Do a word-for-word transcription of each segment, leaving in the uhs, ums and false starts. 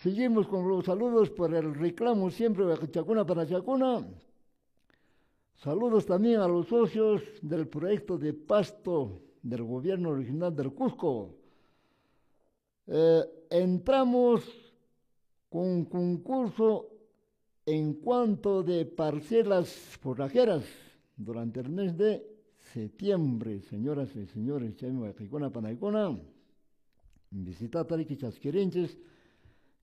Seguimos con los saludos por el reclamo siempre Chacuna para Chacuna. Saludos también a los socios del proyecto de pasto del gobierno regional del Cusco. Eh, entramos con concurso en cuanto de parcelas forrajeras durante el mes de septiembre, señoras y señores, chaymi panaykuna, visitata riki chasquirinchis,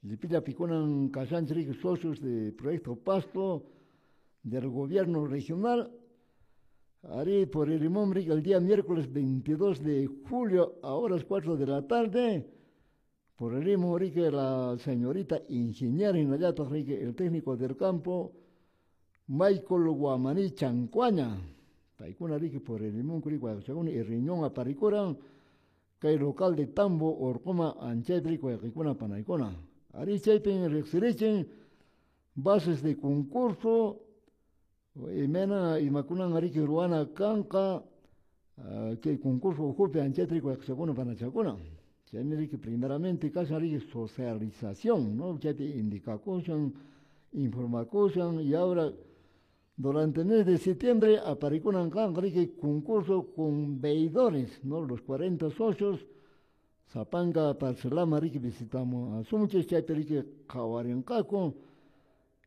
llipilla pikunan kashanchik socios de Proyecto Pasto del gobierno regional. Arí por el limón el día miércoles veintidós de julio a horas cuatro de la tarde, por el limón la señorita ingeniera Inayata el técnico del campo Michael Guamaní Chancuaña, paykuna riki por el limón y riñón aparicura, kay local de Tambo Orcoma anchaypi wayqikuna panaykuna. Arí chaypin riqsirichin bases de concurso imena imakunan ariki ruana kanqa kay concurso ukhupi anchaypi wayqichakuna panachakuna. Chaymi riki primeramente kashan riki socialización, ¿no? Chaypi indicakushan, informakushan y ahora durante el mes de septiembre aparikunan kanqa riki concurso con veidores, ¿no? Los cuarenta socios sapanka parcelama riki visitamos a sunchis chaypi riki qhawarinqaku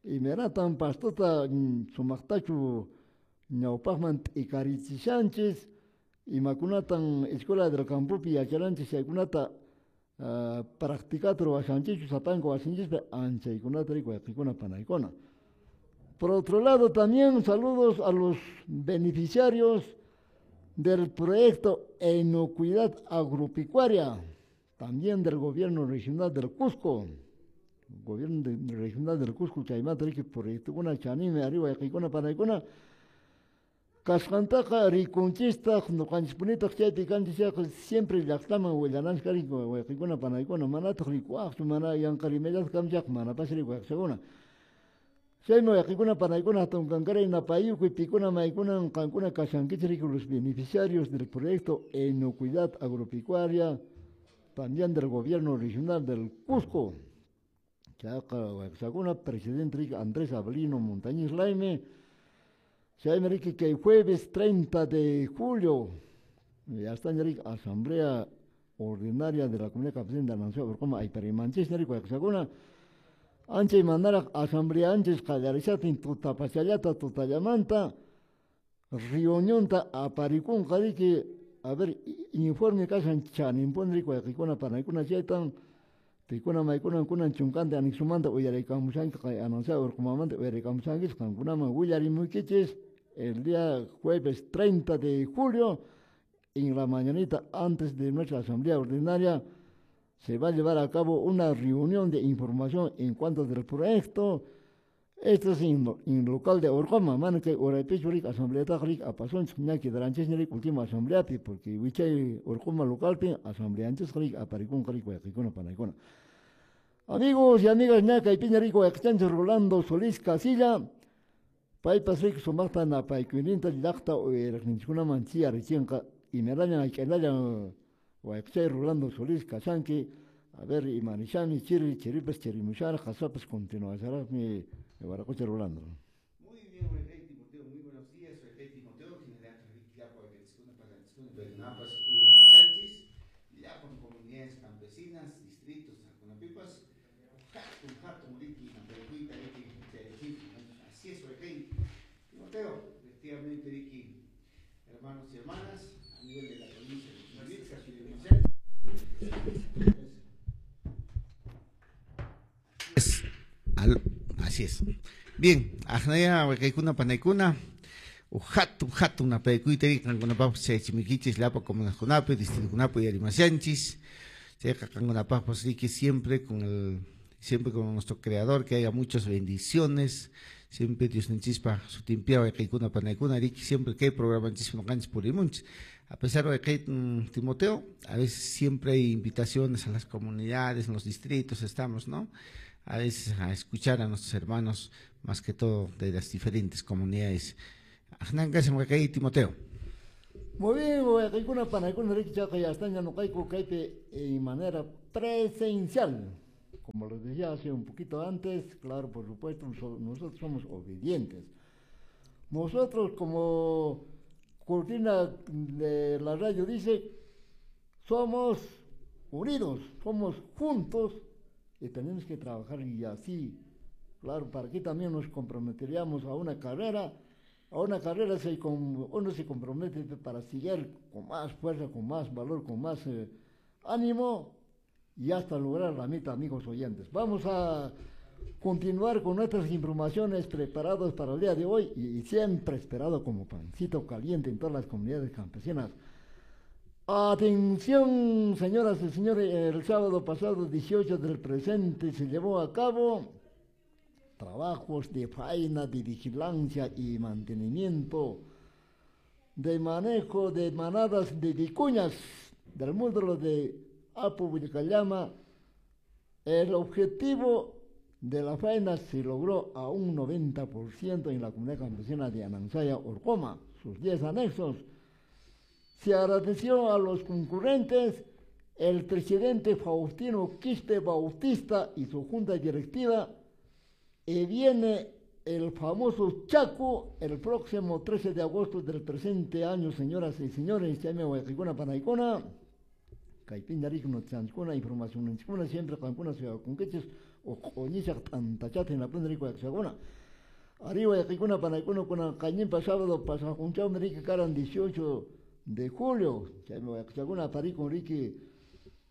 imaynatan pastota sumaqtachu ñawpaqman t'ikarichishanchis imakunatan escuela del campopi yacharanchis chaykunata uh, practicata ruwashanchichu sapanka wasinchispi anchaykunata riki wayqikuna panaykuna. Por otro lado también saludos a los beneficiarios del proyecto Inocuidad Agropecuaria, también del gobierno regional del Cusco. Gobierno de, regional del Cusco, chaymanta riki proyectokuna chanimi arriba wayqikuna panaykuna kasqantaqa rikunchistaq ñuqanchispunitaq chaypi kanchis chayqa siempre llaqtaman willananchik riki wayqikuna panaykuna manataq rikuwaqchu mana yanqa rimayllata kamchaq manapas rikuwaqchakuna. Chaymi wayqikuna panaykuna hatun kankaray napayukuy pikuna maykunan qankuna kashankichik riki los beneficiarios del proyecto Inocuidad Agropecuaria, también del gobierno regional del Cusco. Chayqa wayqisakuna presidente riki Andrés Avelino Montañez Laime. Chaymi riki kay jueves treinta de julio ya está riki asamblea ordinaria de la comunidad campesina de Nación Orcoma ayparimanchis riki wayqisakuna. Anchay manaraq asamblea anchis qallarishatin tutapachallata tutallamanta reunionta aparikunqa riki a ver informe kashan chaninpuni riki wayqikuna panaykuna chaytan pikuna maykuna kunan chunkanta anexumanta uyaraykamushanki kay anunciado Orcomamanta uyaraykamushankis qankunaman willarimuykichis el día jueves treinta de julio en la mañanita antes de nuestra asamblea ordinaria se va a llevar a cabo una reunión de información en cuanto del proyecto. Esto es en, en local de Orcoma, mana que uraypichu riki asamblea riki apasunchik ña quedaranchis riki última asambleapi porque wichay Orcoma localpi asambleanchis riki aparikunqa riki wayqikuna panaykuna. Amigos y amigas, ña kaypiña riki wayqichanchik Rolando Solís Casilla, paypas riki sumaqta napaykuyninta llaqta uyariqninchikkunaman chiyarichinqa imarallan hayk'anallan wayqichay Rolando Solís kashanki. A ver, imanishami chiri chiripas chirimushara qasapas continuasharaqmi waraqucha Rolando. Muy bien, Rey Timoteo, muy buenos días, Rey Timoteo, llapan comunidades campesinas, distritos, Acunapipas, hatun, hatun, riki, napaykuyta, riki, así es, Rey Timoteo, efectivamente, riki, hermanos y hermanas, a nivel de la provincia de Chumbivilcas. Así es. Bien, ajnaya wakaykuna panaykuna, hatun hatun napaykuyta qankunapaqpas chaychimikichis llapa comunidadkunapi, distritokunapi uyarimashanchis. Chayqa qankunapaqpas riki siempre con el siempre con nuestro creador, que haya muchas bendiciones, siempre Dios ninchispa sutimpiya wakaykuna panaykuna riki siempre que hay programa nchispa noqanchis purimunchis. A pesar de que Timoteo, a veces siempre hay invitaciones a las comunidades, en los distritos estamos, ¿no? A veces a escuchar a nuestros hermanos, más que todo de las diferentes comunidades. Timoteo. Muy bien, wayqikuna panaykuna riki chayqa ya están ñuqayku kaypi en manera presencial. Como les decía hace un poquito antes, claro, por supuesto, nosotros somos obedientes. Nosotros, como cortina de la radio dice, somos unidos, somos juntos y tenemos que trabajar y así, claro, para aquí también nos comprometeríamos a una carrera, a una carrera se uno se compromete para seguir con más fuerza, con más valor, con más eh, ánimo y hasta lograr la meta, amigos oyentes. Vamos a continuar con nuestras informaciones preparadas para el día de hoy y, y siempre esperado como pancito caliente en todas las comunidades campesinas. Atención, señoras y señores, el sábado pasado dieciocho del presente se llevó a cabo trabajos de faena, de vigilancia y mantenimiento de manejo de manadas de vicuñas del módulo de Apu Vilcayama. El objetivo de la faena se logró a un noventa por ciento en la comunidad campesina de Anansaya, Orcoma, sus diez anexos. Se agradeció a los concurrentes, el presidente Faustino Quispe Bautista y su junta directiva, y viene el famoso Chaco el próximo trece de agosto del presente año, señoras y señores. Panaicona, información siempre o arriba de sábado dieciocho de julio,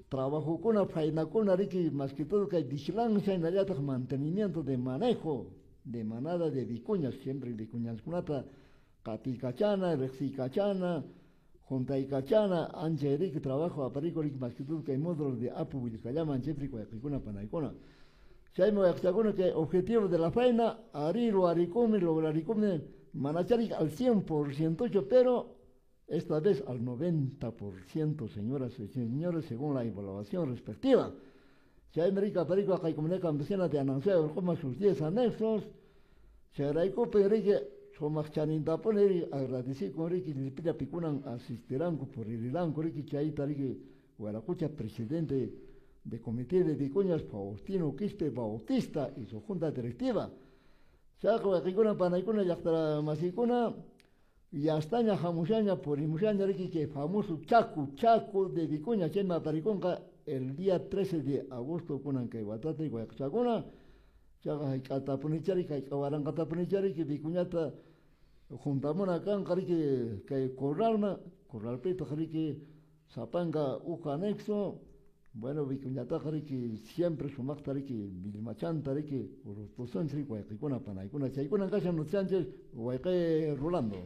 trabajo con faena con más que todo que hay vigilancia en la mantenimiento de manejo de manada de vicuñas, siempre vicuñas kunata, katikachana, rexicachana, juntaicachana, anche rique trabajo aparico más que todo que hay módulos de Apu Vilcayama, anche cuacicuna panaicona. Que objetivo de la faena, arilo, aricome, lograricome, manacharic al cien por ciento, pero esta vez al noventa por ciento, señoras y señores, según la evaluación respectiva. Se América Perico, comunidad campesina de Anansaya, como sus diez anexos, se Enrique, Somachanintapone, agradecí con Ricky, Lipita Picunan, asistirán por el Ilanco, Ricky Chaita, Ricky Guaracucha, presidente de Comité de Vicuñas, Faustino Quispe Bautista y su junta directiva. Chaco, Ricuna, Panaicuna, Yactara, Masicuna, y hasta Jamushaña, por Imushaña, que famoso Chaco, Chaco de Vicuña, Chema Pariconca, el día trece de agosto, con Ancaiguatate y Guayacchacuna, Chaca, Catapunichari, Caiguarangatapunichari, que Vicuñata, Juntamona, Cancari, que Corralna, Corralpeta, que Zapanga, Uja anexo, bueno, Vicuñata, que siempre sumactari, que Vilmachantari, que Urutosantri, Guayacicuna, Panaicuna, Chaicuna, Casa Sánchez, Guayque Rolando.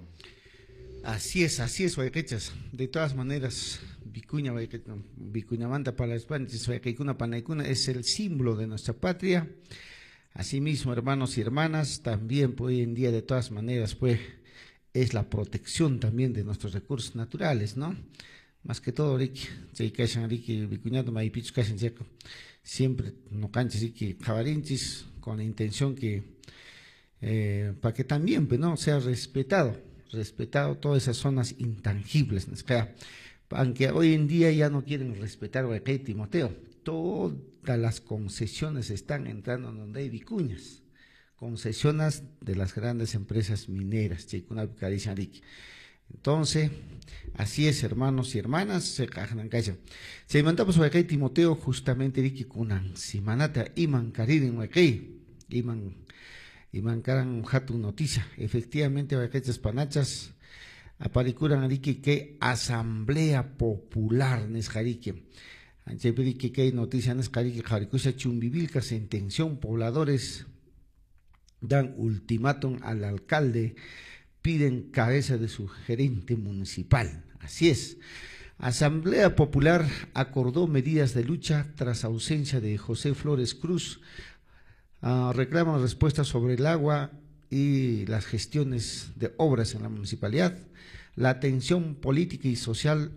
Así es, así es, Guayquechas. De todas maneras, Vicuña, Vicuñamanta para Guayquecuna, Panaicuna es el símbolo de nuestra patria. Asimismo, hermanos y hermanas, también pues, hoy en día, de todas maneras, pues, es la protección también de nuestros recursos naturales, ¿no? Más que todo, Ricky, siempre no canches, jabarinchis, con la intención que, eh, para que también, pues, ¿no?, sea respetado, respetado todas esas zonas intangibles, ¿no? Aunque hoy en día ya no quieren respetar, Timoteo, todas las concesiones están entrando donde hay vicuñas, concesiones de las grandes empresas mineras, Entonces, así es, hermanos y hermanas, se Se mandamos a Timoteo justamente riki kunan simanata iman karirin waqay iman iman karan hatun noticia. Efectivamente, waqaychas panachas aparikuran riki que Asamblea Popular nisqariki. Anchaypi que noticia nisqariki qharikusha Chumbivilca sentención pobladores dan ultimátum al alcalde, piden cabeza de su gerente municipal. Así es. Asamblea Popular acordó medidas de lucha tras ausencia de José Flores Cruz. Uh, reclaman respuestas sobre el agua y las gestiones de obras en la municipalidad. La tensión política y social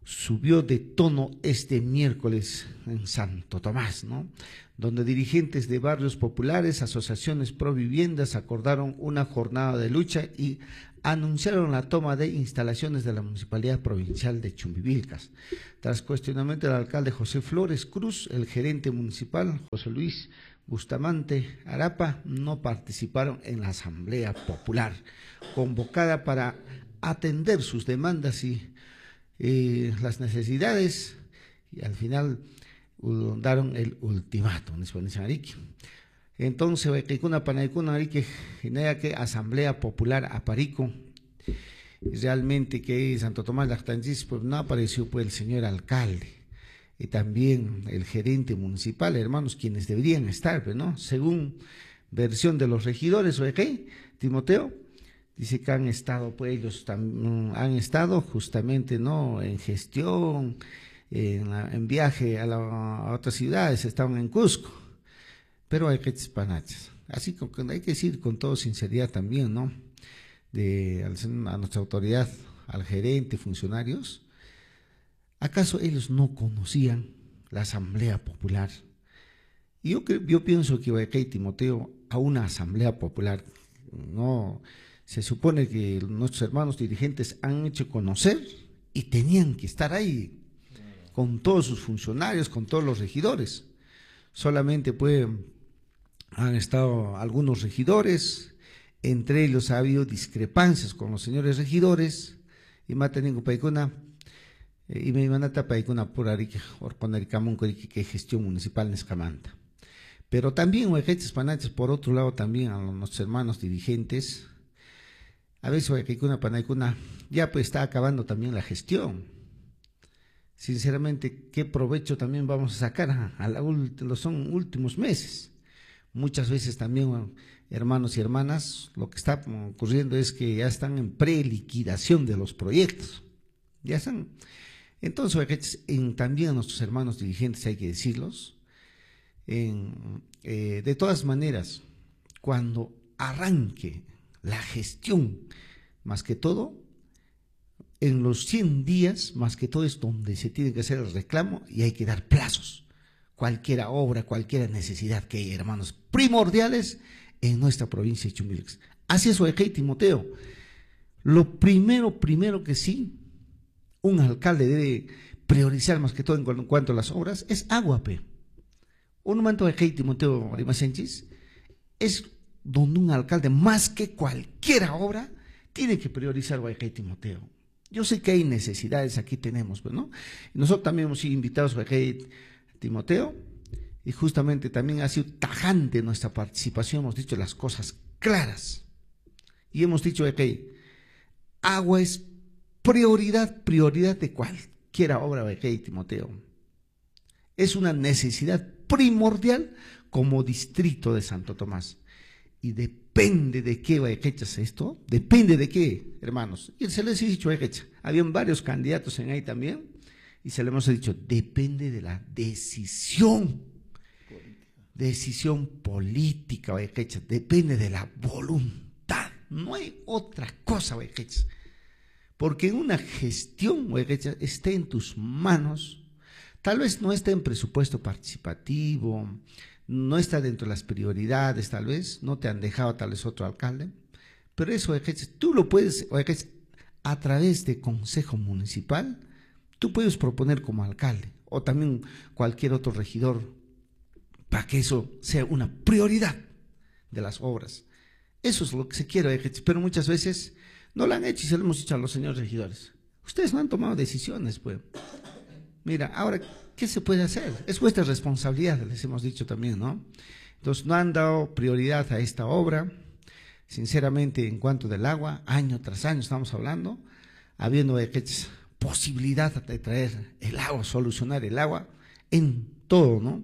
subió de tono este miércoles en Santo Tomás, ¿no? Donde dirigentes de barrios populares, asociaciones pro viviendas acordaron una jornada de lucha y anunciaron la toma de instalaciones de la Municipalidad Provincial de Chumbivilcas. Tras cuestionamiento del alcalde José Flores Cruz, el gerente municipal José Luis Bustamante Arapa no participaron en la Asamblea Popular, convocada para atender sus demandas y eh, las necesidades, y al final daron el ultimátum. Entonces, que Asamblea Popular Aparico, realmente que Santo Tomás Lactanchis, pues no apareció pues el señor alcalde y también el gerente municipal, hermanos, quienes deberían estar, pero no, según versión de los regidores, ¿ok? Timoteo, dice que han estado, pues ellos han estado justamente, ¿no?, en gestión, en, en viaje a, la, a otras ciudades, estaban en Cusco, pero hay que panachas. Así que hay que decir con toda sinceridad también, ¿no?, de, a nuestra autoridad, al gerente, funcionarios, ¿acaso ellos no conocían la Asamblea Popular? Y yo, yo pienso que Ibaequei Timoteo, a una Asamblea Popular, no, se supone que nuestros hermanos dirigentes han hecho conocer y tenían que estar ahí con todos sus funcionarios, con todos los regidores. Solamente pues han estado algunos regidores, entre ellos ha habido discrepancias con los señores regidores, y mataningo paikuna, y me manata paikuna por arique, orconaricamunco que gestión municipal nescamanta. Pero también, huequeches panaches, por otro lado también a nuestros hermanos dirigentes, a veces huequecuna panaicuna, ya pues está acabando también la gestión. Sinceramente, ¿qué provecho también vamos a sacar a, a la los son últimos meses? Muchas veces también, hermanos y hermanas, lo que está ocurriendo es que ya están en preliquidación de los proyectos. Ya están. Entonces, en, también a nuestros hermanos dirigentes hay que decirlos, en, eh, de todas maneras, cuando arranque la gestión, más que todo, en los cien días, más que todo es donde se tiene que hacer el reclamo y hay que dar plazos. Cualquier obra, cualquier necesidad que hay, hermanos, primordiales en nuestra provincia de Chumbivilcas. Así es, Oejei Timoteo. Lo primero, primero que sí, un alcalde debe priorizar más que todo en cuanto a las obras, es agua, pe. Un momento de Oejei Timoteo Rimasenchis es donde un alcalde, más que cualquier obra, tiene que priorizar Oejei Timoteo. Yo sé que hay necesidades, aquí tenemos, ¿no? Nosotros también hemos sido invitados a Timoteo, y justamente también ha sido tajante nuestra participación, hemos dicho las cosas claras. Y hemos dicho que agua es prioridad, prioridad de cualquier obra, de Timoteo. Es una necesidad primordial como distrito de Santo Tomás. Y depende de qué echas esto, depende de qué, hermanos. Y se les ha dicho, habían varios candidatos en ahí también, y se les hemos dicho, depende de la decisión, política. Decisión política, depende de la voluntad, no hay otra cosa, porque una gestión esté en tus manos, tal vez no esté en presupuesto participativo, no está dentro de las prioridades, tal vez, no te han dejado tal vez otro alcalde, pero eso, tú lo puedes, a través de consejo municipal, tú puedes proponer como alcalde, o también cualquier otro regidor, para que eso sea una prioridad de las obras. Eso es lo que se quiere, pero muchas veces no lo han hecho y se lo hemos dicho a los señores regidores. Ustedes no han tomado decisiones, pues. Mira, ahora, ¿qué se puede hacer? Es vuestra responsabilidad, les hemos dicho también, ¿no? Entonces, no han dado prioridad a esta obra. Sinceramente, en cuanto del agua, año tras año estamos hablando, habiendo posibilidad de traer el agua, solucionar el agua en todo, ¿no?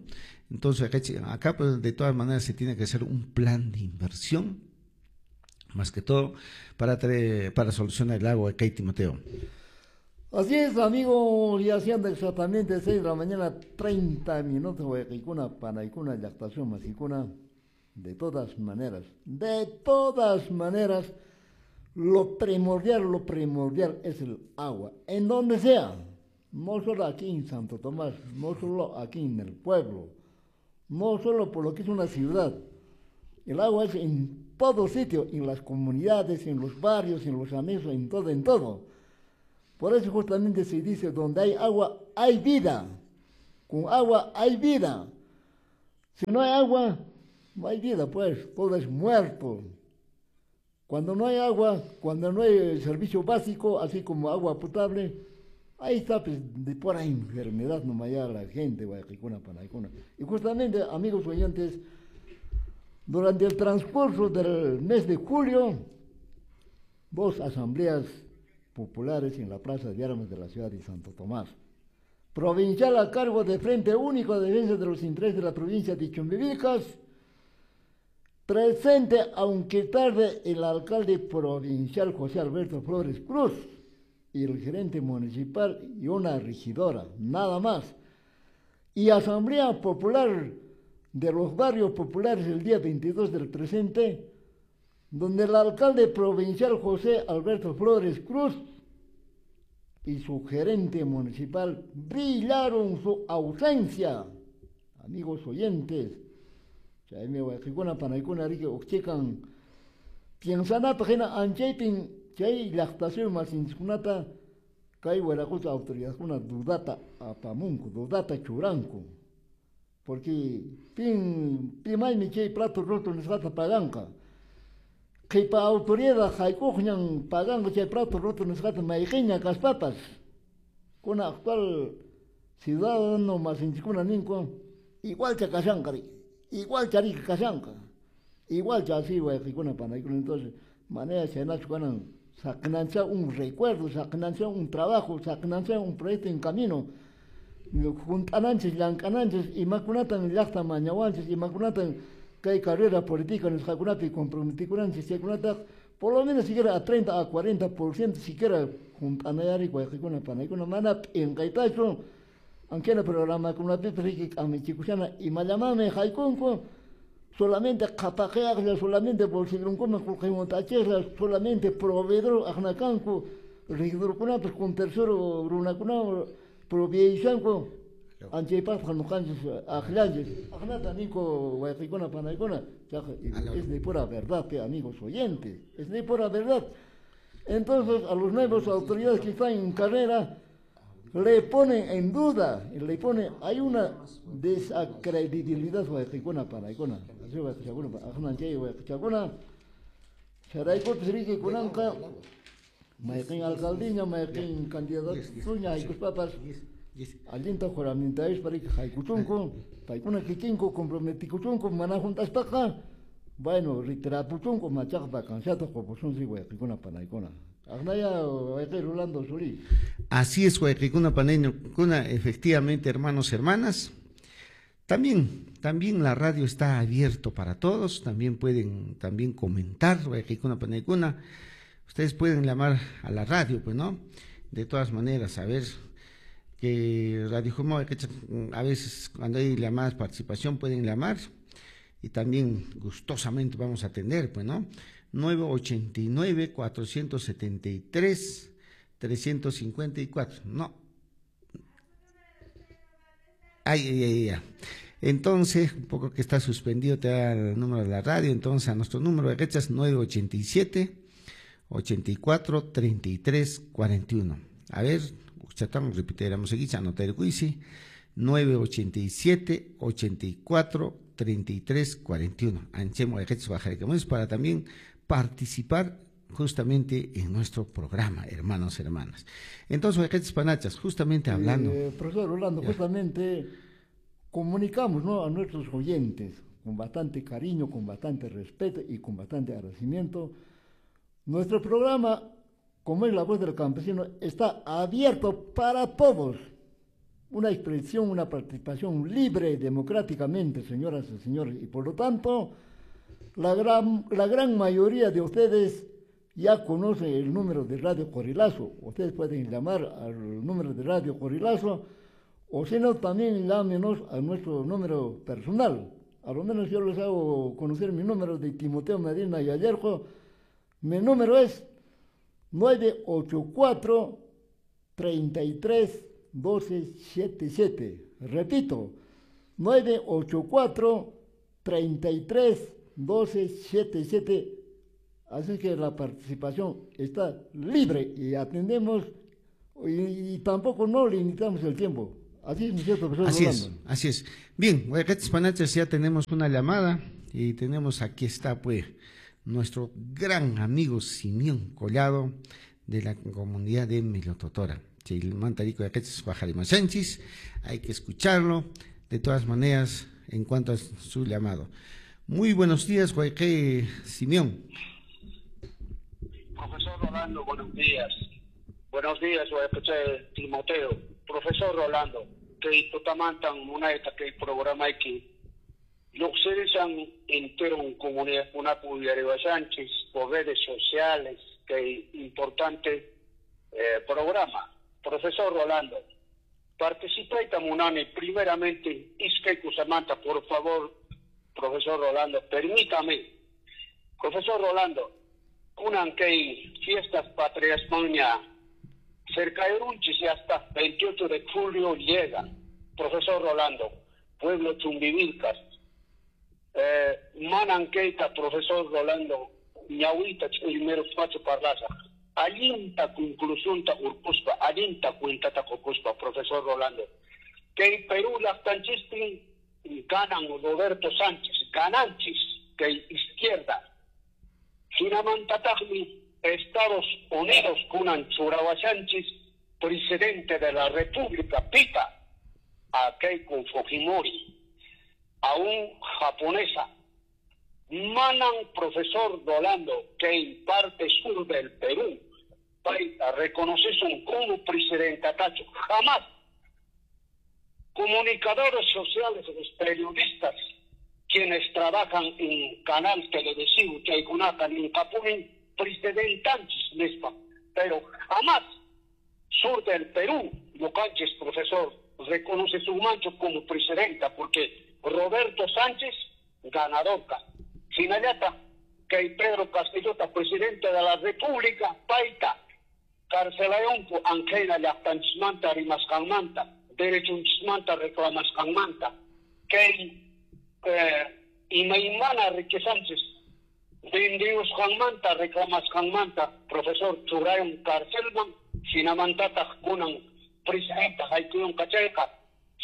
Entonces, acá, pues, de todas maneras, se tiene que hacer un plan de inversión, más que todo, para, traer, para solucionar el agua acá, Timoteo. Así es, amigo, ya siendo exactamente seis de la mañana, treinta minutos, Huequicuna, Panaicuna, Yactación, Masicuna. De todas maneras, de todas maneras, lo primordial, lo primordial es el agua, en donde sea, No solo aquí en Santo Tomás, no solo aquí en el pueblo, no solo por lo que es una ciudad. El agua es en todo sitio, en las comunidades, en los barrios, en los anexos, en todo, en todo. Por eso justamente se dice, donde hay agua, hay vida. Con agua hay vida. Si no hay agua, no hay vida, pues, todo es muerto. Cuando no hay agua, cuando no hay servicio básico, así como agua potable, ahí está, pues, de pura enfermedad nomás ya la gente, y justamente, amigos oyentes, durante el transcurso del mes de julio, dos asambleas populares en la Plaza de Armas de la ciudad de Santo Tomás. Provincial a cargo de Frente Único de Defensa de los Intereses de la provincia de Chumbivilcas, presente, aunque tarde, el alcalde provincial José Alberto Flores Cruz y el gerente municipal y una regidora, nada más. Y Asamblea Popular de los Barrios Populares el día veintidós del presente, donde el alcalde provincial José Alberto Flores Cruz y su gerente municipal brillaron su ausencia. Amigos oyentes, chaymi wayqikuna panaykuna riki uqchikan piensanapaq hina anchaypin chay llaqtasuy masinchikkunata kay wiraqucha autoridadkuna dudata apamunku, dudata churanku, porque pin pimaymi chay plato roto nisqata paganqa, qhipa autoridad haykuqñan paganqa chay plato roto nisqata mayqiña kaspapas. Kuna actual ciudadano masinchikuna ninku igualcha kashanqa, igual charika kashanqa, igual chasi wayqikuna panaykuna. Entonces manera chaynachu kanan, saqnancha un recuerdo, saqnancha un trabajo, saqnancha un proyecto en camino, junt'ananchis, llank'ananchis, imakunatan llaqta mañawanchis, imakunatan kay carrera política nisqakunapi comprometikunanchis, chaykunataq por lo menos siquiera a treinta a cuarenta por ciento siquiera junt'anayari wayqikuna panaykuna, mana p'inqaytachu. Aunque no programa kunapipas riki k'amichikushana imallamanmi haykunku, solamente qhapaqiyaqlla, solamente bolsillunkuman qullqi solamente proveedor aqnakanku, regidorkunapas con tercero runakuna proveishanku, anchaypaqqa nuqanchis aqllanchis. Aqnata ninku wayqikuna panaykuna, es de pura verdad, pe, amigos oyentes, es de pura verdad. Entonces a los nuevos autoridades que están en carrera le ponen en duda, le ponen, hay una desacredibilidad wayqikuna panaykuna, así wayqichakuna, aqnanchay wayqichakuna, charaykupis riki kunanqa mayqin alcaldiña, mayqin candidatuña haykuspapas allinta juramentayuspa riki haykuchunku, paykuna kikinku comprometikuchunku, mana juntaspaqa, bueno, retirapuchunku, machaqa vacanciata qupusunchik wayqikuna panaykuna. Rolando Solís. Así es, wayqikuna panaykuna, efectivamente, hermanos, hermanas. También, también la radio está abierto para todos, también pueden también comentar, wayqikuna panaykuna. Ustedes pueden llamar a la radio, pues, ¿no? De todas maneras, a ver que Radio Jumao, a veces cuando hay llamadas participación pueden llamar y también gustosamente vamos a atender, pues, ¿no? nueve ochenta y nueve, cuatrocientos setenta y tres, trescientos cincuenta y cuatro. No. Ay, ay, ay, ay. Entonces, un poco que está suspendido, te da el número de la radio. Entonces, a nuestro número de rechas, nueve ochenta y siete, ochenta y cuatro, treinta y tres, cuarenta y uno. A ver, chatamos, repetiremos aquí, anotar el juicio. nueve ochenta y siete, ochenta y cuatro, treinta y tres, cuarenta y uno. Anchemo de rechas, bajaremos para también participar justamente en nuestro programa, hermanos, hermanas. Entonces, Ojetes Panachas, justamente hablando. Eh, profesor Rolando, ya. Justamente comunicamos, ¿no?, a nuestros oyentes con bastante cariño, con bastante respeto y con bastante agradecimiento. Nuestro programa, como es La Voz del Campesino, está abierto para todos. Una expresión, una participación libre democráticamente, señoras y señores, y por lo tanto, la gran, la gran mayoría de ustedes ya conocen el número de Radio Corrilazo. Ustedes pueden llamar al número de Radio Corrilazo, o si no, también llámenos a nuestro número personal. A lo menos yo les hago conocer mi número de Timoteo Medina y Ayerjo. Mi número es nueve ocho cuatro, treinta y tres, doce setenta y siete. Repito, nueve ocho cuatro, treinta y tres, doce setenta y siete. Así que la participación está libre y atendemos y, y tampoco no limitamos el tiempo. Así es, mi cierto, profesor. Así es, así es. Bien, Panachas, ya tenemos una llamada y tenemos, aquí está pues nuestro gran amigo Simeón Collado de la comunidad de Milototora. Hay que escucharlo de todas maneras en cuanto a su llamado. Muy buenos días, Guayque Simeón. Profesor Rolando, buenos días. Buenos días, Guayque Timoteo. Profesor Rolando, que tutamantan munaita que el programa aquí Luxerisan entero en comunidad Punapu y Arriba Sánchez por redes sociales, que importante eh, programa. Profesor Rolando, participé tamunani primeramente Iskay Kusamanta, por favor, profesor Rolando, permítame. Profesor Rolando, kunan kay fiestas patrias maña cerca de Runchis y hasta veintiocho de julio llega. Profesor Rolando, pueblo Chumbivilcas. Eh, manan keita, profesor Rolando, ñawita primero pacho parlaza. Alinta conclusión ta urkuspa, alinta cuenta ta urkuspa, profesor Rolando. Que Perú las tanchistin ganan Roberto Sánchez, gananchis, que izquierda. Sinamantatagmi, Estados Unidos, kunan Churawachanchis, presidente de la República, pita a Keiko Fujimori, a un japonesa. Manan, profesor Rolando, que en parte sur del Perú, paita, reconoces un como presidente Tacho, jamás. Comunicadores sociales, los periodistas, quienes trabajan en canal televisivo, Chaycunacan, en Capunín, presidentantes misma, pero jamás sur del Perú, Locanches, profesor, reconoce su mancho como presidenta, porque Roberto Sánchez, ganador. Sinayata, que Pedro Castillota, presidente de la República, paita, carcelayonco, anquena, llaqtanchismanta, rimasqanmanta, derechunchismanta, reclamasqanmanta, que eh, imaymana riquezanchis, vendiusqanmanta, reclamasqanmanta, profesor churayon carcelman, sinamantataq kunan presidenta haykuyunqa chayqa,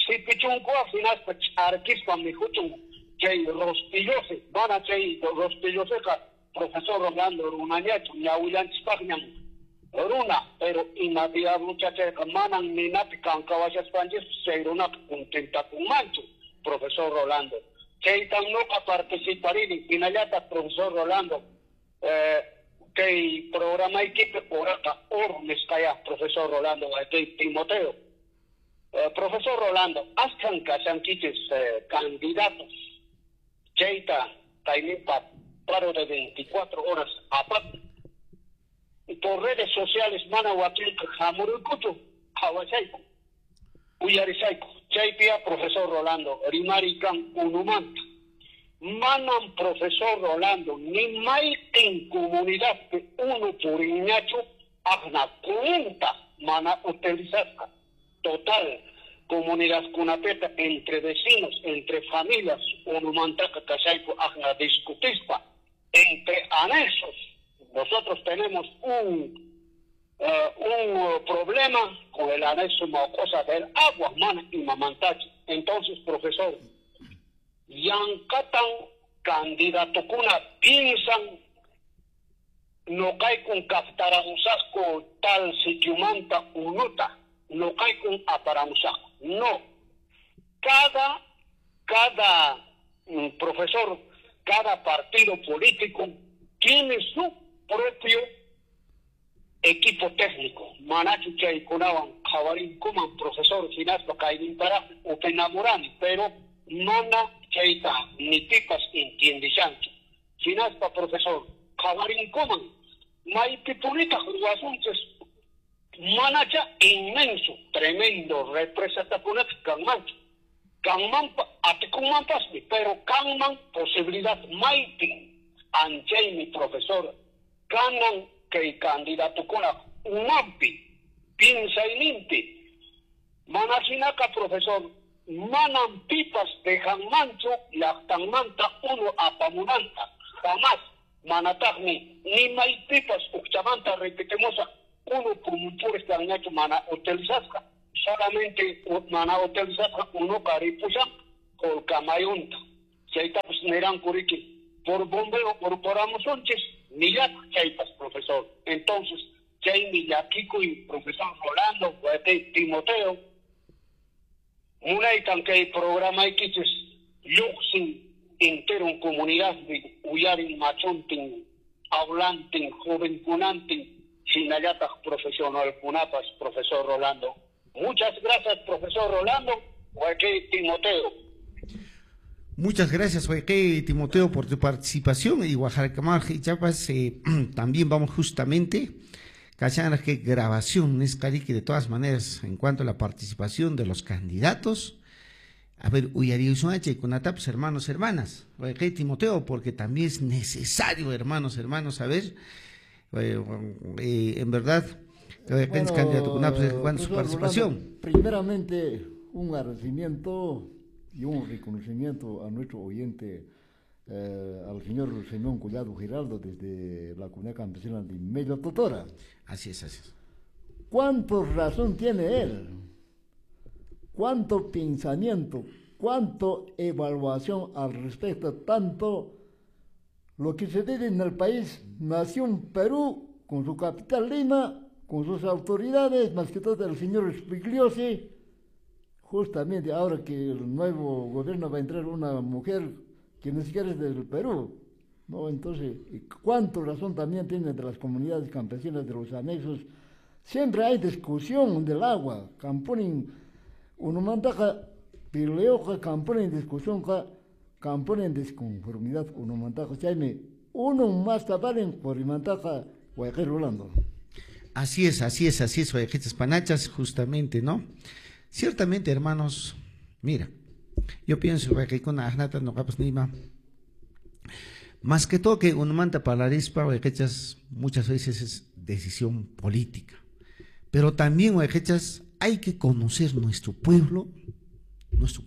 sipichunkuqa hinaspa ch'arkispa mikhuchun chay rostillose, van a chay rostilloseqa, profesor Rolando runañachu, ñawillanchispaqñan runa, pero ima diablucha chayqa manan ninapi kankawashaspanchis chay runaqa contentakunmanchu, profesor Rolando. Chaytan nuqa participarini, hinallataq profesor Rolando, eh, kay programaykipi uraqa ur nisqaya, profesor Rolando, kay Timoteo. Eh, profesor Rolando, askan kashankichis eh, candidatos, chayta kayninpa paro de veinticuatro horas aparte. Por redes sociales mana wakinqa hamuruykuchu, qhawashayku, uyarisayku. Chaypiya, profesor Rolando, rimari kan unumanta. Manan, profesor Rolando, ni mayqin comunidadpi unu puriñachu aqna cuenta mana utilizasqa. Total, comunidad kunapeta entre vecinos, entre familias, unumantaqa kashayku aqna discutispa, entre anexos. Nosotros tenemos un, uh, un problema con el anexo cosa del agua, mana y mamantachi. Entonces, profesor, yankatan candidatukuna piensan no kaykun kaptaramusaqku tal sitiumanta unuta, no kaykun aparamusaqku. No. Cada, cada mm, profesor, cada partido político tiene su propio equipo técnico. Manachu chaykunawan qhawarinkuman profesor hinaspa kaynintaraq upinamurani, pero mana chayta ni pipas entiendishanchu. Hinaspa profesor qhawarinkuman maypipunitaq ruwasunchis manacha inmenso, tremendo represatakunata kanmanchu. Kanmanpa atikunmanpasmi, pero kanman posibilidad maypin. Anchaymi profesor kanan kay candidatukuna umanpi, pinsayninpi, Mana hinaqa, profesor, manam pipas dejanmanchu llaqtanmanta unu apamunanta, jamás. Manataqmi ni maypipas uqchamanta repitimusaq unu purmupuris kanñachu mana utilizasqa. Solamente mana utilizasqa unuqa ripushan Qolqamayunta. Chaytapas niranku riki por bombeo corporamusunchis nillataq chaypas, profesor. Entonces, chaymi llakikuy, profesor Rolando, Timoteo, munaytan kay programaykichis lluqsin entero comunidad uyarin machuntin, hablantin, jovenkunantin, hinallataq profesionalkunapas, profesor Rolando. Muchas gracias, profesor Rolando, Huayqey Timoteo. Muchas gracias, Huayqey Timoteo, por tu participación. Y Guajarcamar y Chiapas, eh, también vamos justamente, cachan que grabación es carique de todas maneras en cuanto a la participación de los candidatos. A ver, uyariusunache con ataps, hermanos, hermanas, Huayqey Timoteo, porque también es necesario, hermanos, hermanos, a ver, eh, eh, en verdad, bueno, candidato con en cuanto a su participación. Rolando, primeramente, un agradecimiento y un reconocimiento a nuestro oyente, eh, al señor Simón Collado Giraldo, desde la comunidad campesina de Medio Totora. Así es, así es. ¿Cuánto razón tiene él? ¿Cuánto pensamiento? ¿Cuánto evaluación al respecto? Tanto lo que se vive en el país, Nación Perú, con su capital Lima, con sus autoridades, más que todo el señor Spigliosi, justamente ahora que el nuevo gobierno va a entrar una mujer que ni siquiera es del Perú, ¿no? Entonces, ¿cuánto razón también tienen de las comunidades campesinas, de los anexos? Siempre hay discusión del agua, camponen, unumantaqa, peleoqa, camponen discusión, camponen disconformidad, unumantaqa, chaymi, uno más taparen, qorimantaqa, Huayqey Rolando. Así es, así es, así es, Huayqichas Panachas, justamente, ¿no? Ciertamente, hermanos, mira, yo pienso que con ajnata no capas nima. Más que todo que unumanta palarispa, huayqichas, muchas veces es decisión política. Pero también, huayqichas, hay que conocer nuestro pueblo, nuestro,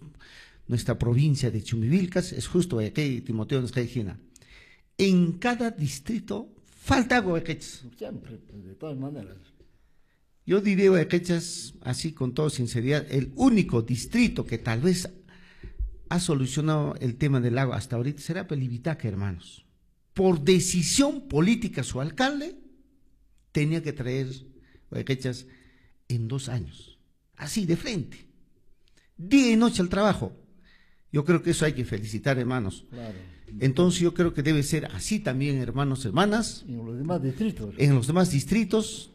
nuestra provincia de Chumbivilcas. Es justo, huayqey Timoteo nos cae. En cada distrito falta agua, huayqichas. Siempre, de todas maneras. Yo diría, huayqichas, así con toda sinceridad, el único distrito que tal vez ha solucionado el tema del agua hasta ahorita será Pelibitaca, hermanos. Por decisión política, su alcalde tenía que traer huayqichas en dos años. Así, de frente. Día y noche al trabajo. Yo creo que eso hay que felicitar, hermanos. Claro. Entonces yo creo que debe ser así también, hermanos, hermanas. En los demás distritos. En los demás distritos.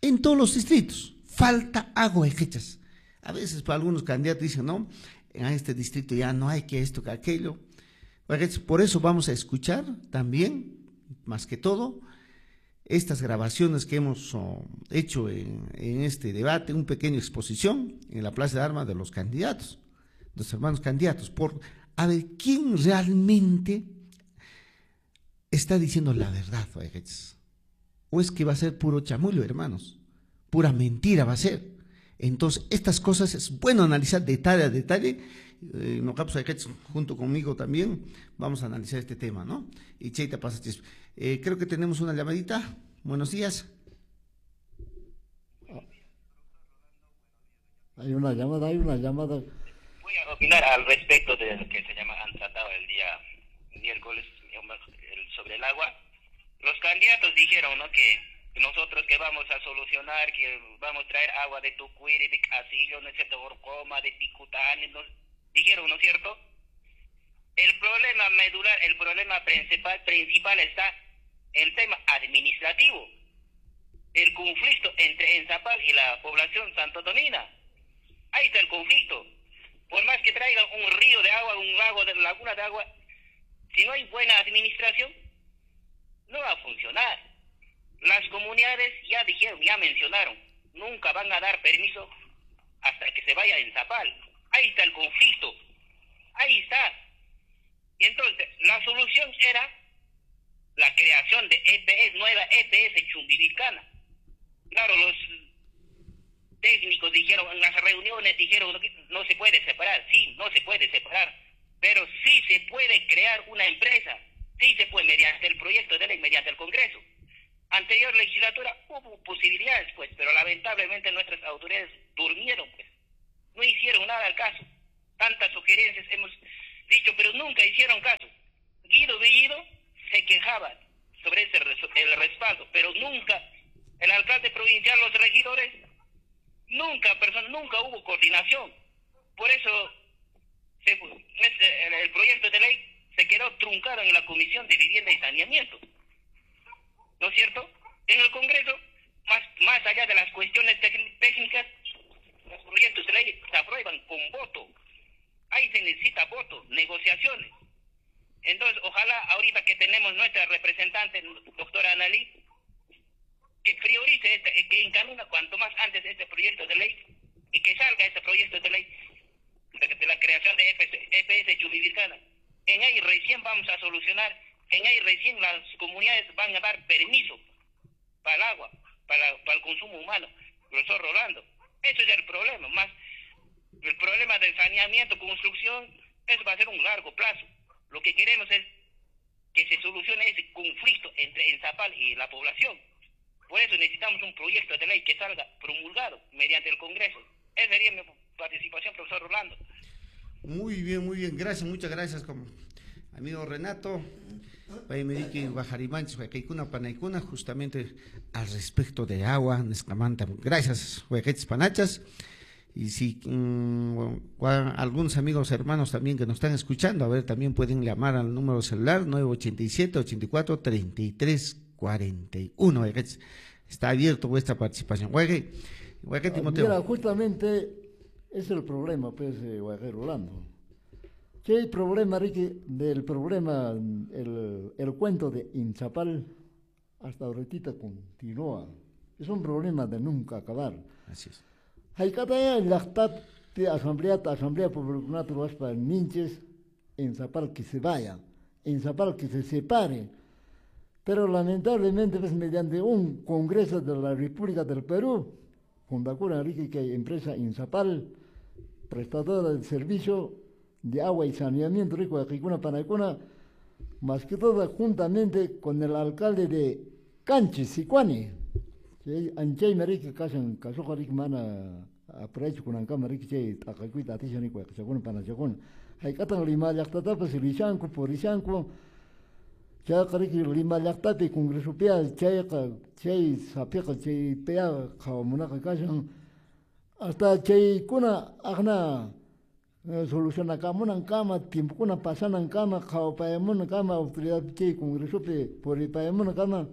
En todos los distritos. Falta agua, huayqichas. A veces para algunos candidatos dicen, no, en este distrito ya no hay que esto, que aquello. Por eso vamos a escuchar también, más que todo, estas grabaciones que hemos oh, hecho en, en este debate, una pequeña exposición en la Plaza de Armas de los candidatos, los hermanos candidatos, por a ver quién realmente está diciendo la verdad, o es que va a ser puro chamullo, hermanos, pura mentira va a ser. Entonces, estas cosas es bueno analizar detalle a detalle. Eh, junto conmigo también vamos a analizar este tema, ¿no? Y Cheita pasa. Eh, creo que tenemos una llamadita. Buenos días. Hay una llamada, hay una llamada. Voy a opinar al respecto de lo que se llama, han tratado el día miércoles sobre el agua. Los candidatos dijeron, ¿no?, que nosotros que vamos a solucionar, que vamos a traer agua de Tucuiri, de Casillo, no sé, de Orcoma, de Picutani, no, dijeron, ¿no es cierto? El problema medular, el problema principal, principal está el tema administrativo, el conflicto entre Enzapal y la población santotomina. Ahí está el conflicto. Por más que traigan un río de agua, un lago, de laguna de agua, si no hay buena administración, no va a funcionar. Las comunidades ya dijeron, ya mencionaron, nunca van a dar permiso hasta que se vaya a Enzapal. Ahí está el conflicto, ahí está. Y entonces, la solución era la creación de E P S, nueva E P S chumbivilcana. Claro, los Técnicos dijeron, en las reuniones dijeron, no se puede separar, sí, no se puede separar, pero sí se puede crear una empresa, sí se puede mediante el proyecto de ley, mediante el Congreso. Anterior legislatura hubo posibilidades, pues, pero lamentablemente nuestras autoridades durmieron, pues, no hicieron nada al caso. Tantas sugerencias hemos dicho, pero nunca hicieron caso. Guido Bellido se quejaba sobre ese el respaldo, pero nunca el alcalde provincial, los regidores, nunca, persona, nunca hubo coordinación. Por eso se, ese, el, el proyecto de ley se quedó truncado en la Comisión de Vivienda y Saneamiento. ¿No es cierto? En el Congreso, más, más allá de las cuestiones técnicas, los proyectos de ley se aprueban con voto. Ahí se necesita voto, negociaciones. Entonces, ojalá ahorita que tenemos nuestra representante, doctora Analí, que priorice, este, que encamina cuanto más antes este proyecto de ley y que salga este proyecto de ley de, de la creación de E P S Chumbivilcana. En ahí recién vamos a solucionar, en ahí recién las comunidades van a dar permiso para el agua, para, para el consumo humano. Profesor Rolando, eso es el problema, más el problema del saneamiento, construcción, eso va a ser un largo plazo. Lo que queremos es que se solucione ese conflicto entre Ensapal y la población. Por eso necesitamos un proyecto de ley que salga promulgado mediante el Congreso. Esa sería mi participación, profesor Rolando. Muy bien, muy bien. Gracias, muchas gracias, como amigo Renato. Justamente al respecto de agua, gracias, panachas. Y si mmm, algunos amigos hermanos también que nos están escuchando, a ver, también pueden llamar al número celular nueve ochenta y siete, ochenta y cuatro, treinta y tres, cuarenta y uno. Está abierto vuestra participación. Guaje, guaje, Timoteo. Mira, justamente es el problema, pues, guaje, Rolando. ¿Qué problema, Ricky? Del problema, el, el cuento de Inchapal hasta ahorita continúa. Es un problema de nunca acabar. Así es. Haykataya llaqtapi asamblea asamblea pueblokunata ruwaspa ninchis Ensapal que se vaya, Ensapal que se separe. Pero lamentablemente, pues, mediante un Congreso de la República del Perú, fundacura Enrique que empresa Insapal, prestadora de servicio de agua y saneamiento rico de Jicuna Panacuna, más que todo juntamente con el alcalde de Canchis, Sicuani. Anchay mariki kashan kasuqa riki mana aprachu kunankama riki chay t'aqakuyta atishan wayqichakuna panachakuna hayk'atan Lima llaqtatapas rishanku purishanku chayqa riki Lima llaqtapi congresopiqa chayqa chay sapiqa chaypiqa qhawamunaqa kashan hasta chaykuna aqna solucionakamunankama tiempokuna pasanankama qhawapayamunankama autoridad chay congresopi puripayamunankama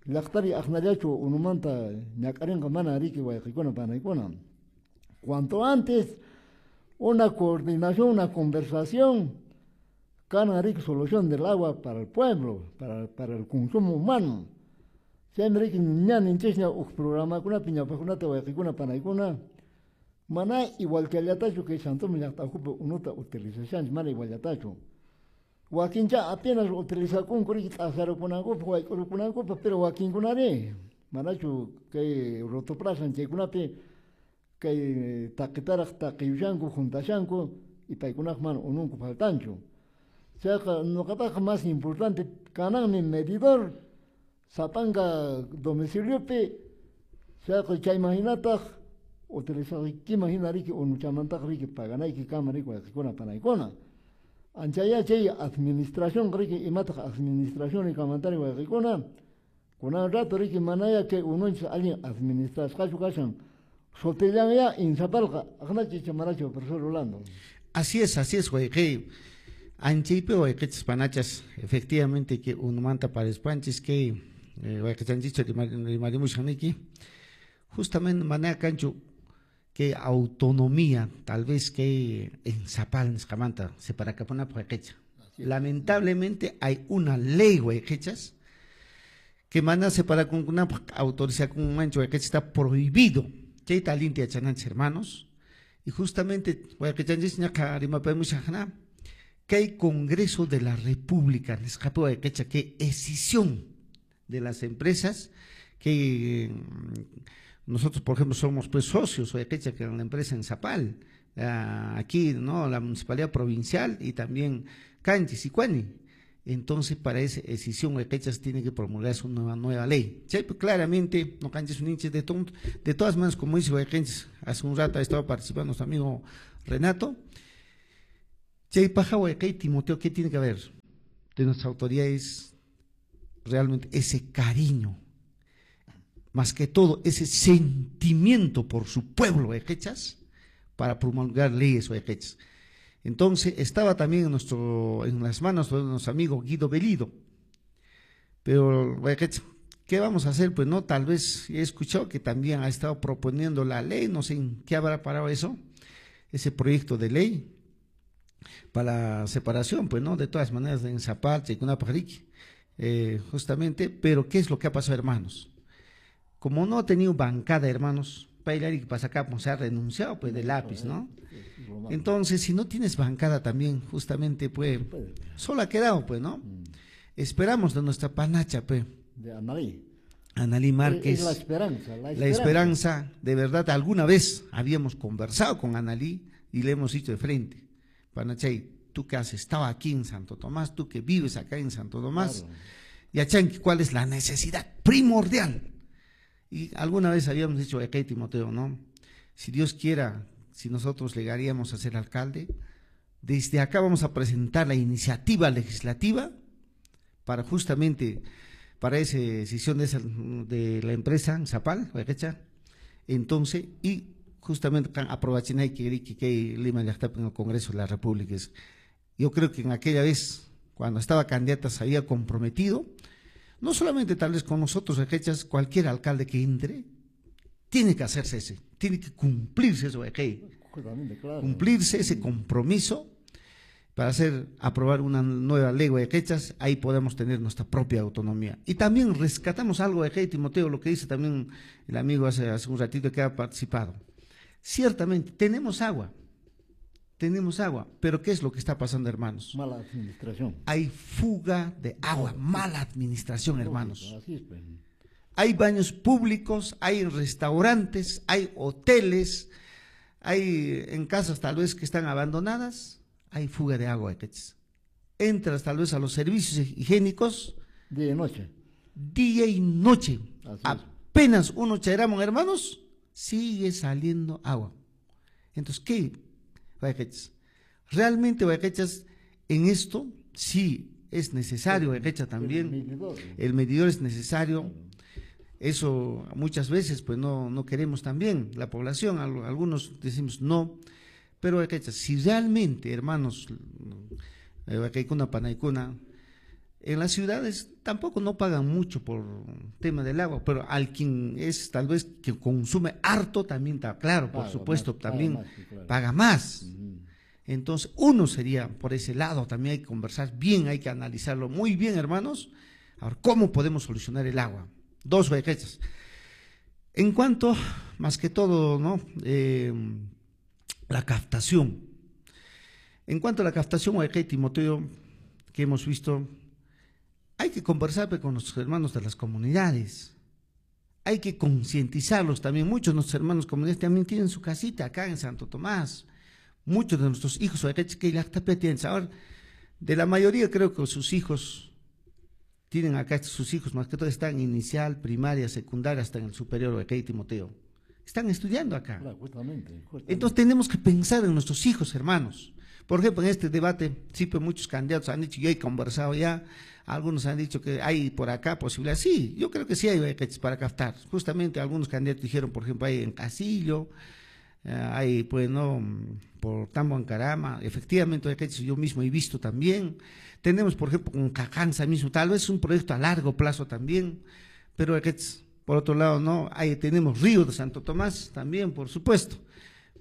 llaqtari aqnallachu unumanta ñak'arinqa mana riki wayqikuna panaykuna. Cuanto antes una coordinación, una conversación, kana riki solución del agua para el pueblo, para, para el consumo humano. Chaymi riki ña ninchishña uj programakunapi ñawpaqkunata wayqikuna panaykuna mana igualchallatachu kay Santomi llaqtakupi unuta utilizashanchik, mana iguallatachu. Wakincha apenas utilizakunku riki t'asarukunankupaq wayk'urukunankupaq, pero wakinkunari manachu kay rotoplaza chaykunapi kay taqitaraq taqiyushanku juntashanku y paykunaq mana ununku faltanchu. Chayqa ñuqapaqqa más importante kananmi medidor sapanka domiciliopi, chayqa chayman hinataq utilizaykiman hina riki unuchamantaq riki paganayki kama riki wayqikuna panaykuna. Anchaya chay administración riki imataq administración rikamantari wayqikuna kunan rato riki manaya kay ununchis allin administrasqachu kashan sutillanya Insapalqa aqnachi manachu profesor Rolando. Así es, así es, wayqi. Anchaypi wayqichis panachas, efectivamente que unumanta parispanchis que wayqichanchichu rimarimushaniki justamente manaya kanchu que autonomía, tal vez que en Zapal, nisqamanta, separakapunapaq wayqicha. Lamentablemente hay una ley, wayqichas, que mana separakunkunapaq autorizakunmanchu wayqicha, está prohibido. Chayta allinta yachananchis, hermanos. Y justamente wayqichanchis ñaqa rimapamushaqna, que hay Congreso de la República, nisqapi wayqicha, que escisión de las empresas que Nosotros, por ejemplo, somos pues socios, que en la empresa en Zapal, aquí, ¿no? La municipalidad provincial y también Canchis y Cuani. Entonces, para esa decisión, Huayquechas tiene que promulgarse una nueva, nueva ley. Sí, pues, claramente, no canches un hinche de tonto. De todas maneras, como dice Huayquechas, hace un rato ha estado participando nuestro amigo Renato. Chay paja Huayquey Timoteo, ¿qué tiene que haber de nuestras autoridades? Realmente ese cariño, más que todo ese sentimiento por su pueblo, Huayquechas, para promulgar leyes Huayquechas. Entonces estaba también en, nuestro, en las manos de nuestro amigo Guido Bellido. Pero, ¿qué vamos a hacer? Pues no, tal vez he escuchado que también ha estado proponiendo la ley, no sé en qué habrá parado eso, ese proyecto de ley para la separación, pues no, de todas maneras, en Zapal, Chaycunapajriqui, eh, justamente. Pero ¿qué es lo que ha pasado, hermanos? Como no ha tenido bancada, hermanos, Pailari que pasa acá, pues se ha renunciado pues de lápiz, ¿no? Entonces, si no tienes bancada también, justamente, pues, solo ha quedado, pues, ¿no? Esperamos de nuestra panacha, pues. De Analí. Analí Márquez. Es la esperanza, la esperanza. La esperanza, de verdad, alguna vez habíamos conversado con Analí y le hemos dicho de frente, Panachay, tú que has estado aquí en Santo Tomás, tú que vives acá en Santo Tomás, claro. Y Achanqui, ¿cuál es la necesidad primordial? Y alguna vez habíamos dicho, ok, Timoteo, ¿no? Si Dios quiera, si nosotros llegaríamos a ser alcalde, desde acá vamos a presentar la iniciativa legislativa para justamente, para esa decisión de, esa, de la empresa Zapal, entonces, y justamente aprobachen que que Lima ya está en el Congreso de la República. Yo creo que en aquella vez, cuando estaba candidata, se había comprometido, no solamente tal vez con nosotros, cualquier alcalde que entre, tiene que hacerse ese, tiene que cumplirse eso, claro. Cumplirse ese compromiso para hacer aprobar una nueva ley de quechas, ahí podemos tener nuestra propia autonomía. Y también rescatamos algo de Timoteo, lo que dice también el amigo hace, hace un ratito que ha participado. Ciertamente, tenemos agua, tenemos agua, pero ¿qué es lo que está pasando, hermanos? Mala administración. Hay fuga de agua, mala administración, hermanos. Así es, pues. Hay baños públicos, hay restaurantes, hay hoteles, hay en casas tal vez que están abandonadas, hay fuga de agua. Entras tal vez a los servicios higiénicos. Día y noche. Día y noche. Así Apenas uno chairamos, hermanos, sigue saliendo agua. Entonces, ¿qué? Realmente, Guayquechas, en esto sí es necesario, Guayquecha también. El medidor. El medidor es necesario. Eso muchas veces pues no, no queremos también, la población, algunos decimos no, pero Guayquechas, si realmente, hermanos, Guayquecuna, Panaicuna, en las ciudades tampoco no pagan mucho por tema del agua, pero al quien es tal vez que consume harto también está claro, por paga supuesto, más, también paga más, claro. Paga más. Uh-huh. Entonces, uno sería por ese lado, también hay que conversar bien, hay que analizarlo muy bien, hermanos. Ahora, ¿cómo podemos solucionar el agua? Dos huequechas. En cuanto, más que todo, ¿no? Eh, la captación. En cuanto a la captación, huequey, Timoteo, que hemos visto, hay que conversar con nuestros hermanos de las comunidades. Hay que concientizarlos también. Muchos de nuestros hermanos comunidades también tienen su casita acá en Santo Tomás. Muchos de nuestros hijos, ahora, de la mayoría creo que sus hijos tienen acá, sus hijos más que todo están inicial, primaria, secundaria, hasta en el superior, huequey, Timoteo. Están estudiando acá. Claro, justamente, justamente. Entonces tenemos que pensar en nuestros hijos, hermanos. Por ejemplo, en este debate, sí, pues muchos candidatos han dicho, yo he conversado ya, algunos han dicho que hay por acá posibilidad. Sí, yo creo que sí hay para captar. Justamente algunos candidatos dijeron, por ejemplo, hay en Casillo, eh, hay, pues, no, por Tambo Ancarama, efectivamente, yo mismo he visto también. Tenemos, por ejemplo, con Cajanza mismo, tal vez un proyecto a largo plazo también, pero por otro lado, no, ahí tenemos Río de Santo Tomás también, por supuesto,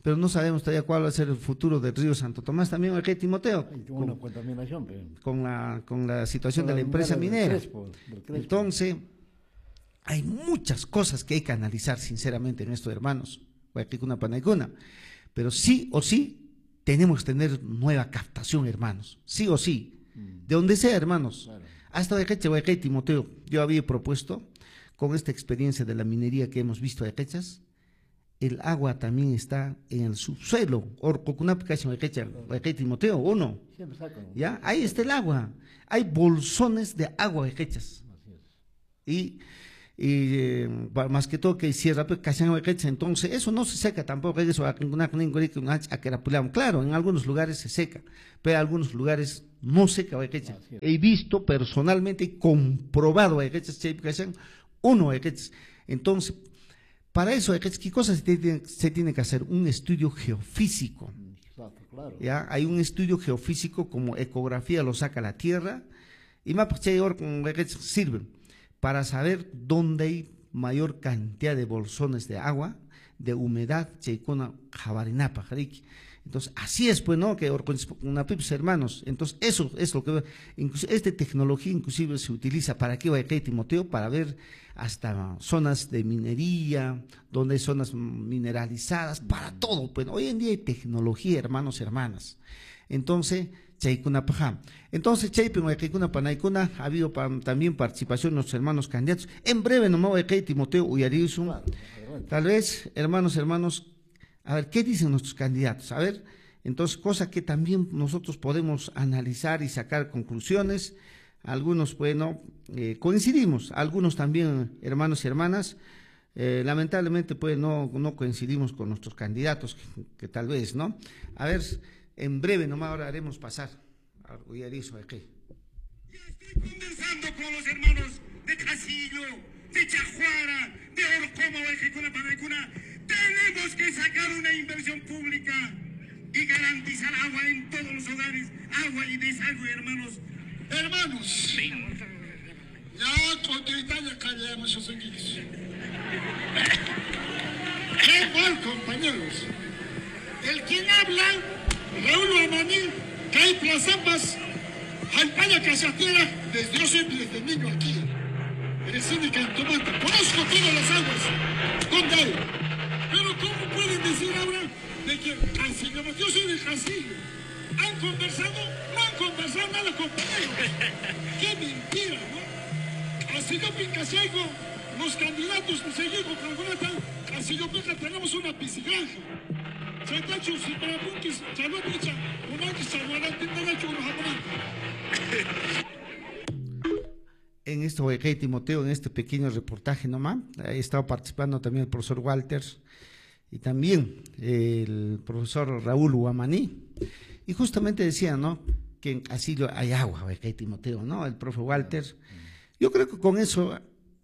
pero no sabemos todavía cuál va a ser el futuro del Río Santo Tomás también, aquí Timoteo, con, con, con la, con la situación con la de la empresa minera. Del Crespo, del Crespo. Entonces, hay muchas cosas que hay que analizar sinceramente en esto, hermanos, pero sí o sí tenemos que tener nueva captación, hermanos, sí o sí, de donde sea, hermanos. Claro. Hasta Timoteo, yo había propuesto Con esta experiencia de la minería que hemos visto de quechas, el agua también está en el subsuelo. Timoteo, uno. ¿Ya? Ahí está el agua. Hay bolsones de agua de quechas. Y, y eh, más que todo que cierra, entonces eso no se seca tampoco. Claro, en algunos lugares se seca, pero en algunos lugares no seca. He visto personalmente y comprobado uno. Entonces, para eso, ¿qué cosa se tiene, se tiene que hacer? Un estudio geofísico. Exacto, claro. ¿Ya? Hay un estudio geofísico como ecografía lo saca la tierra y más sirve para saber dónde hay mayor cantidad de bolsones de agua, de humedad, Entonces, así es, pues, ¿no? Que hermanos. Entonces, eso es lo que... Incluso, esta tecnología inclusive se utiliza para qué, Timoteo, para ver hasta zonas de minería, donde hay zonas mineralizadas, para todo. Pues, hoy en día hay tecnología, hermanos y hermanas. Entonces, chaykuna paja. Entonces, chaypi waykikuna panaykuna, ha habido pa, también participación de nuestros hermanos candidatos. En breve nomás waykay Timoteo uyarisun. Tal vez, hermanos, hermanos, a ver, ¿qué dicen nuestros candidatos? A ver, entonces, cosa que también nosotros podemos analizar y sacar conclusiones. Algunos, bueno, eh, coincidimos, algunos también, hermanos y hermanas, eh, lamentablemente, pues, no, no coincidimos con nuestros candidatos, que, que tal vez, ¿no? A ver, en breve nomás ahora haremos pasar al uyarizo aquí. Ya estoy conversando con los hermanos de Casillo, de Chajuara, de Orcoma, Huayquicuna, Panaicuna. Tenemos que sacar una inversión pública y garantizar agua en todos los hogares, agua y desagüe, hermanos. Hermanos, ya con Italia callamos esos. Qué mal, compañeros. El quien habla, Raúl Amaní, Cay Plazampas, Jalpaya Casatera, desde yo soy desde niño aquí, en el cine Cantomanta, conozco todas las aguas, ¿dónde hay? Pero ¿cómo pueden decir ahora de que Casillo, yo soy de Casillo? ¿Han conversado? No han conversado nada, compañeros. ¡Qué mentira, no! Casillo Pincasiego, los candidatos de Seguigo, Cangonata, Casillo Pica, tenemos una piscigranja. En esto, Timoteo, en este pequeño reportaje nomás, ha estado participando también el profesor Walters y también el profesor Raúl Huamaní, y justamente decía, ¿no?, que en Casillo hay agua, Timoteo, ¿no? El profe Walters. Yo creo que con eso,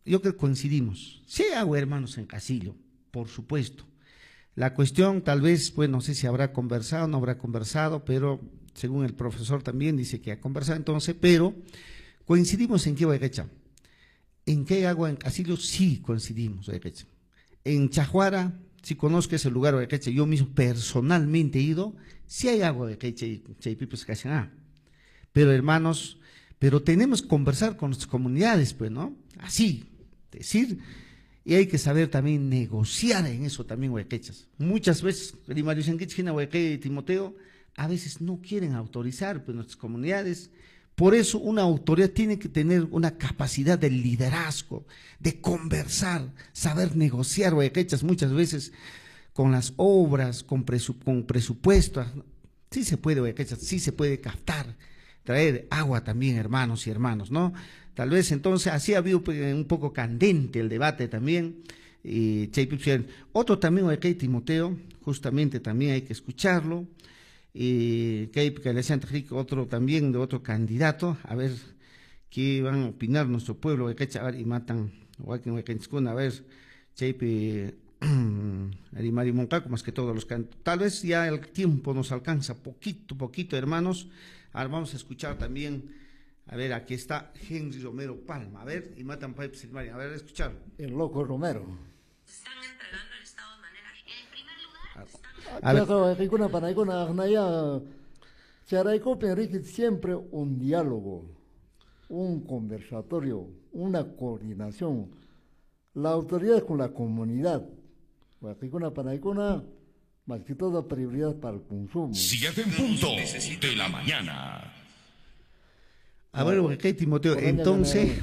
yo creo que coincidimos. Sí hay agua, hermanos, en Casillo, por supuesto. La cuestión, tal vez, pues no sé si habrá conversado, no habrá conversado, pero según el profesor también dice que ha conversado, entonces, pero coincidimos en qué, Guayquecha. En qué agua en Casillo sí coincidimos, Guayquecha. En Chajuara, si conozco ese lugar, Guayquecha, yo mismo personalmente he ido, sí hay agua, Guayquecha, y Chaypipos Cachaná. Pero hermanos, pero tenemos que conversar con nuestras comunidades, pues, ¿no? Así, decir. Y hay que saber también negociar en eso también, huayquechas. Muchas veces, y Timoteo, a veces no quieren autorizar, pues, nuestras comunidades. Por eso una autoridad tiene que tener una capacidad de liderazgo, de conversar, saber negociar, huayquechas, muchas veces con las obras, con, presu con presupuestos. Sí se puede, huayquechas, sí se puede captar, traer agua también, hermanos y hermanos, ¿no? Tal vez entonces así ha habido un poco candente el debate también. Y otro también, Timoteo, justamente también hay que escucharlo. Y otro también de otro candidato, a ver qué van a opinar nuestro pueblo, a ver, y matan, a ver, más que todos los cantos. Tal vez ya el tiempo nos alcanza poquito, poquito, hermanos. Ahora vamos a escuchar también. A ver, aquí está Henry Romero Palma. A ver, y matan a ver, escuchar. El loco Romero. Están entregando el Estado de manera. En primer lugar, están... A ver. Siempre un diálogo, un conversatorio, una coordinación. La autoridad con la comunidad. Más que todo prioridad para el consumo. Siete en punto de la mañana. A ver, ok, Timoteo, entonces,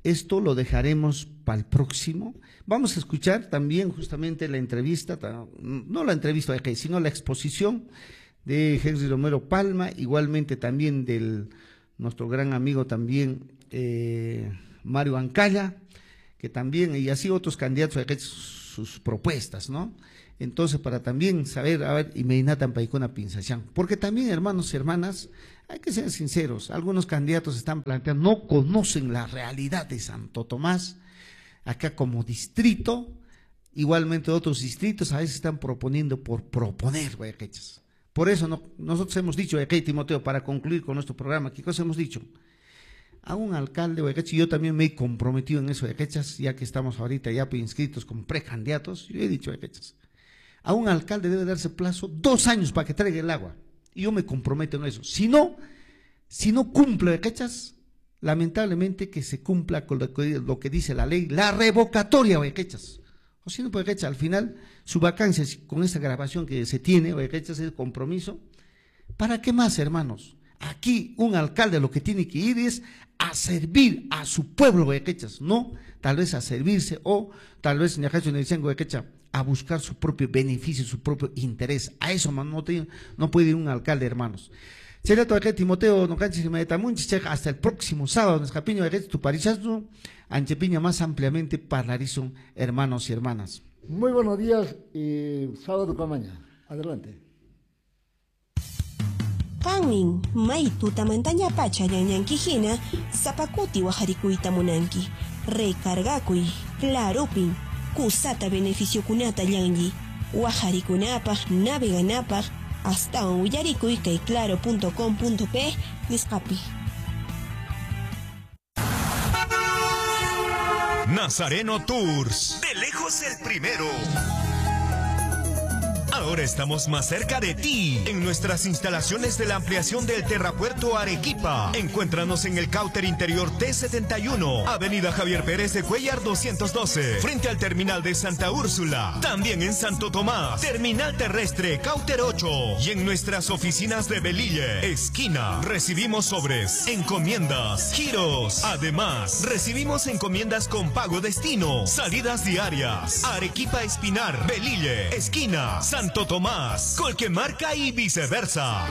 Esto lo dejaremos para el próximo. Vamos a escuchar también justamente la entrevista, no la entrevista, sino la exposición de Henry Romero Palma, igualmente también del nuestro gran amigo también eh, Mario Ancalla, que también, y así otros candidatos, sus propuestas, ¿no? Entonces, para también saber, a ver, y Meinatan Paicona Pinzachán, porque también, hermanos y hermanas, hay que ser sinceros, algunos candidatos están planteando, no conocen la realidad de Santo Tomás, acá como distrito, igualmente otros distritos a veces están proponiendo por proponer, guayaquechas. Por eso no, nosotros hemos dicho, Timoteo, para concluir con nuestro programa, ¿qué cosa hemos dicho? A un alcalde, guayaquechas, y yo también me he comprometido en eso, guayaquechas, ya que estamos ahorita ya inscritos como precandidatos, yo he dicho, guayaquechas, a un alcalde debe darse plazo dos años para que traiga el agua. Y yo me comprometo en eso. Si no, si no cumple, guayaquechas, lamentablemente que se cumpla con lo que, lo que dice la ley, la revocatoria, guayaquechas. O si no, guayaquechas, al final, su vacancia, con esta grabación que se tiene, guayaquechas, el compromiso. ¿Para qué más, hermanos? Aquí un alcalde lo que tiene que ir es a servir a su pueblo, guayaquechas, no tal vez a servirse o tal vez, guayaquecha, a buscar su propio beneficio, su propio interés. A eso man, no, tiene, no puede ir un alcalde, hermanos. Timoteo, hasta el próximo sábado, Anchepiña más ampliamente parlarizon, hermanos y hermanas. Muy buenos días y sábado camaña. Adelante. Qanmin may tutamantaña pacha ñanñankihina sapakuti waharikuyta munanki. Recargakuy, clarupin, kusata beneficiokunata llanlli, waharikunapaq, naveganapaq, astawan willarikuy kay claro punto com punto pe nisqapi. Nazareno Tours, de lejos el primero. Ahora estamos más cerca de ti, en nuestras instalaciones de la ampliación del Terrapuerto Arequipa. Encuéntranos en el Cauter Interior T setenta y uno, Avenida Javier Pérez de Cuellar doscientos doce, frente al Terminal de Santa Úrsula. También en Santo Tomás, Terminal Terrestre Cauter ocho, y en nuestras oficinas de Belille, esquina. Recibimos sobres, encomiendas, giros. Además, recibimos encomiendas con pago destino, salidas diarias. Arequipa Espinar, Belille, esquina, Santo Tomás, Colquemarca y viceversa.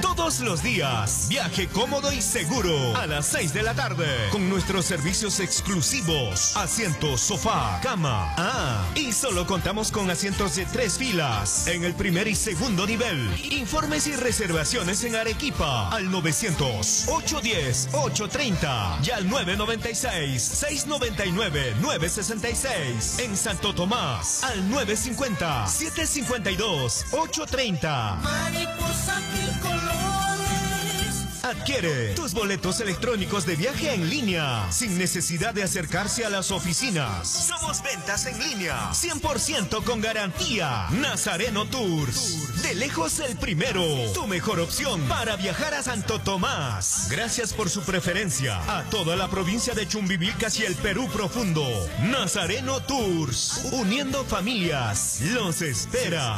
Todos los días, viaje cómodo y seguro a las seis de la tarde con nuestros servicios exclusivos, asientos, sofá, cama. Ah, y solo contamos con asientos de tres filas en el primer y segundo nivel. Informes y reservaciones en Arequipa al novecientos, ochocientos diez, ochocientos treinta y al nueve noventa y seis, seiscientos noventa y nueve, novecientos sesenta y seis. En Santo Tomás al nueve cincuenta, setecientos cincuenta y dos, ochocientos treinta. Mariposa mil colores. Adquiere tus boletos electrónicos de viaje en línea, sin necesidad de acercarse a las oficinas. Somos ventas en línea, cien por ciento con garantía. Nazareno Tours, de lejos el primero, tu mejor opción para viajar a Santo Tomás. Gracias por su preferencia a toda la provincia de Chumbivilcas y el Perú profundo. Nazareno Tours, uniendo familias, los espera.